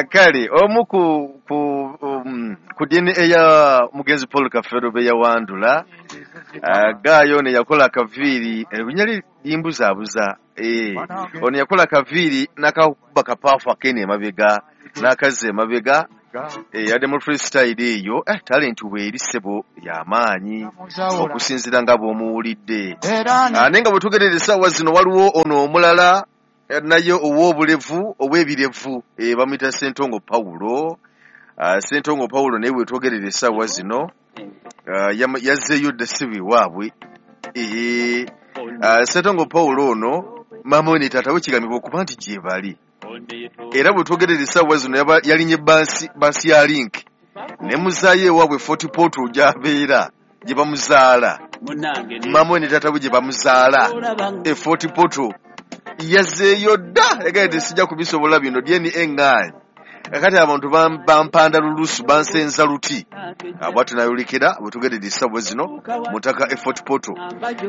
Kale omu ku DNA ya mugenzi Paul Kafeero be yawandula, gaayo ne yakola akaviiri, erinnya lye limbuzaabuza. Ono yakola akaviiri n'akakuba kapaafu akene emabega n'akazza emabega, yadde mu freestyle eyo. Talent weeri ssebo y'amaanyi okusinziira nga bw'omuwulidde. Naye nga bwe tugerera essaawa zino waliwo ono omulala naye ow'obulevu ow'ebirevu, bamuyita Ssentongo Paulo. Ssentongo Paulo naye bwe twogerera essaawa zino yazzeeyo dda ssibo ewaabwe. Ssentongo Paulo ono maama we ne taata we kigambibwa okuba nti gye bali, era bwe twogerera essaawa zino yalinye baasi ya Link ne muzaayo ewaabwe Fort Portal gy'abeera gye bamuzaala. Maama we ne taata we gye bamuzaala e Fort Portal. Yazzeeyo dda, yagambye nti sijja kubisobola bino, DNA eŋŋaanyi, kakati abantu bampanda lulusu bansenza luti. Bwatyo nayolekera bwe tugerera essaawa zino mu ttaka e Fort Portal.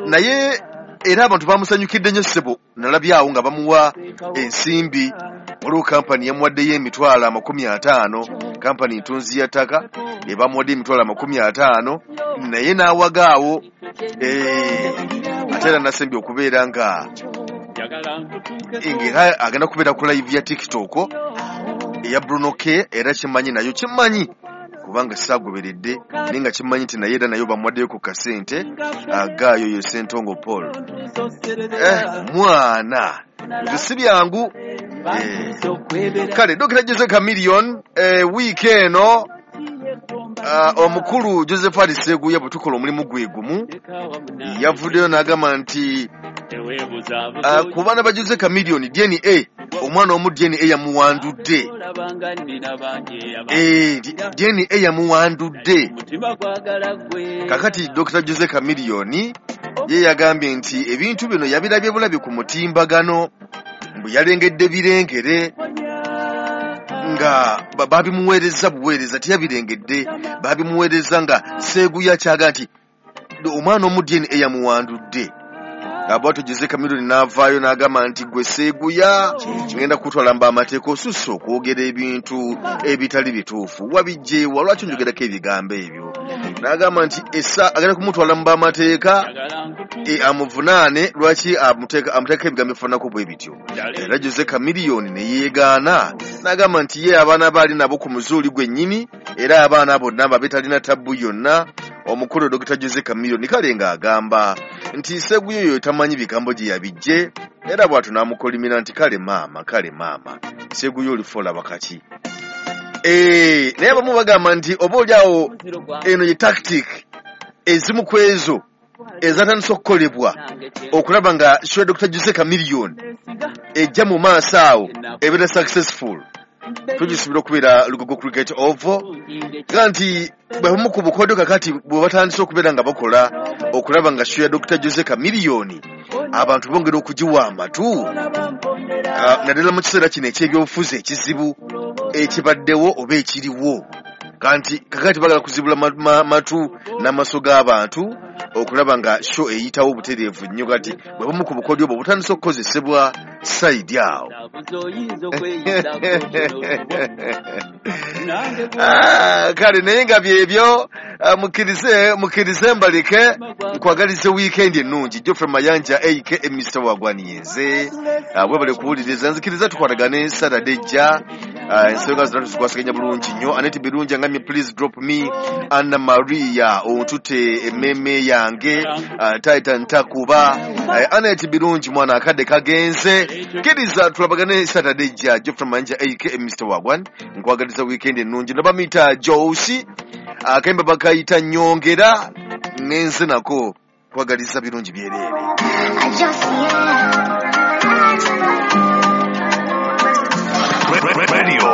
Naye era abantu bamusanyukidde nnyo ssebo, nalabyawo nga bamuwa ensimbi. Waliwo kampani yamuwaddeyo 50,000, kampani ntunzi ya ttaka ebamuwadde 50,000, naye n'awagaawo. Ate era nasembye okubeera nga ng'era agenda kubeera ku live ya TikTok eya Bruno K. Era kimanyi nayo kimanyi kubanga saagoberedde, naye nga kimanyi nti naye era nayo bamuwaddeyo ku kasente. Gaayo yo Ssentongo Paul. Mwana ebyo si byangu. Kale Dr. Jose Chameleone, wiiki eno omukulu Josephat Sseguya bwe tukola omulimu gwe gumu yavuddeyo n'agamba nti ku baana ba Jose Chameleone DNA, omwana omu DNA yamuwandudde. DNA yamuwandudde. Kakati Dr. Jose Chameleone ye yagambye nti ebintu bino yabirabye bulabi ku mutimbagano, mbu yalengedde birengere nga babimuweereza buweereza, teyabirengedde, babimuweereza nga Sseguya kyaga nti omwana omu DNA yamuwandudde. Bwatyo Jose Chameleone n'avaayo n'agamba nti gwe Sseguya ngenda kutwala mba amateeka, osusse okwogera ebintu ebitali bituufu, wabijjeewa, lwaki onjogerako ebigambo ebyo? N'agamba nti essa agenda kumutwala mu b'amateeka, amuvunaane lwaki amuteekako ebigambo ebifaananako bwe bityo. Era Jose Chameleone ne yeegaana n'agamba nti ye abaana baali nabo ku muzuuli gwennyini, era abaana bonna babe talina tabbu yonna. Omukulu Dr. Jose Chameleone kale ng'agamba nti Sseguya oyo tamanyi bigambo gye yabijje, era bw'atyo n'amukolimira nti kale maama, kale maama Sseguya olifa olaba kaki. Naye abamu bagamba nti oba oli awo eno ye tactic ezimu ku ezo ezatandise okukolebwa okulaba nga show Dr. Jose Chameleone ejja mu maaso awo ebeera successful. Tugisubira okubeera Lugogo Cricket Oval, ga nti bwebamu ku bukodyo kakati bwe batandise okubeera nga bakola okulaba nga show ya Dr. Jose Chameleone abantu bongera okugiwa amatu, naddala mu kiseera kino eky'ebyobufuzi ekizibu ekibaddewo oba ekiriwo. Kanti kakati bagala kuzibula matu n'amaaso g'abantu okulaba nga show eyitawo obutereevu nnyo. Kati bwe bumu ku bukodyo obwo butandise okukozesebwa side awo. Kale naye nga byebyo, mukkirize mbaleke nkwagalize weekend ennungi. Geoffrey Mayanja aka Mr. Wagwaniyenze, webale kuwuliriza, nzikiriza tukwatagane Saturday ejja. Ensonga zonna tuzikwasaganya bulungi nnyo. Aneti Birungi angambye please drop me Anna Maria ontute emmeeme yange, Titan takuba. Aneti Birungi mwana akadde kagenze, kkiriza tulabagane Saturday ejja. Geoffrey Mayanja aka Mr. Wagwan nkwagaliza weekend ennungi. Nabamuyita Josi akemba bakayita nyongera nenze nako kwagaliza birungi byereere. I just, yeah. Radio.